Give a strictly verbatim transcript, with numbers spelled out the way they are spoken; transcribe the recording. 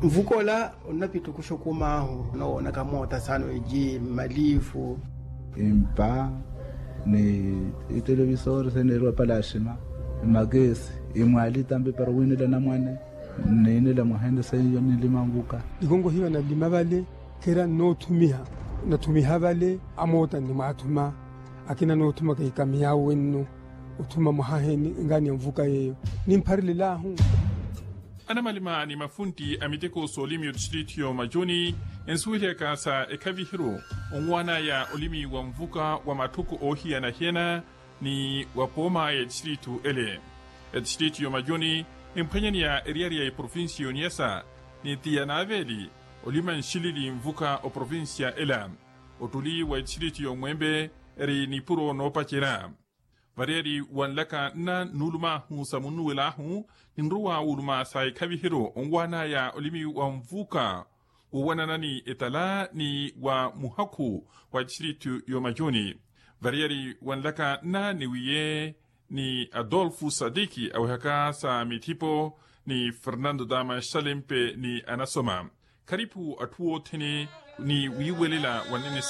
Nvuka ola onnapittukuxa okum'ahu, nowoonaka moota saana eji, mmalifu, impa, ni itelevisori seneeriwa palaxima, mmakesi, imwaali tampi para owiinela anamwane, niinela mwaheene seiyo ninlima nvuka. Nikonkohiwa nanlima vale, kheera nnoothumiha, nathumiha vale, amoota nnimwaathuma. Akina noothuma keikamiyaawe nno othuma mwahahe ni ngaani ya nvuka yeeyo, nimpharelelaahu. Anamalima ni mafuntti a miteko s'olimi otistritu y'omajuni, ensuwelihaka sa ekhavihiru onwaan'aya olimi wa nvuka wa matthuku oohiyana-hiyana, ni wa pooma ya etistritu ele. Etistritu y'omajuni emphwanyaneya eriyari ya eprovinsiya y'oniyasa, ni ti yanaaveeli olima nxilili nvuka oprovinsiya ela. Ottuli wa etistritu y'omwempe eri nipuro noopacerya. Variyari wa nlaka nna nuulum'ahu sa munnuwel'ahu, ninrowa wuuluma sa ekhavihiru onwaan'aya olimi wa nvuka, wowanana ni etala ni wa muhakhu wa etistritu y'omajuni. Variyari wa nlaka nna niwiye ni adolfu sadiki awehaka sa mithipo, ni fernando dama xalempe ni anasoma. Kharipu atthu othene ni wiiwelela wa nnene.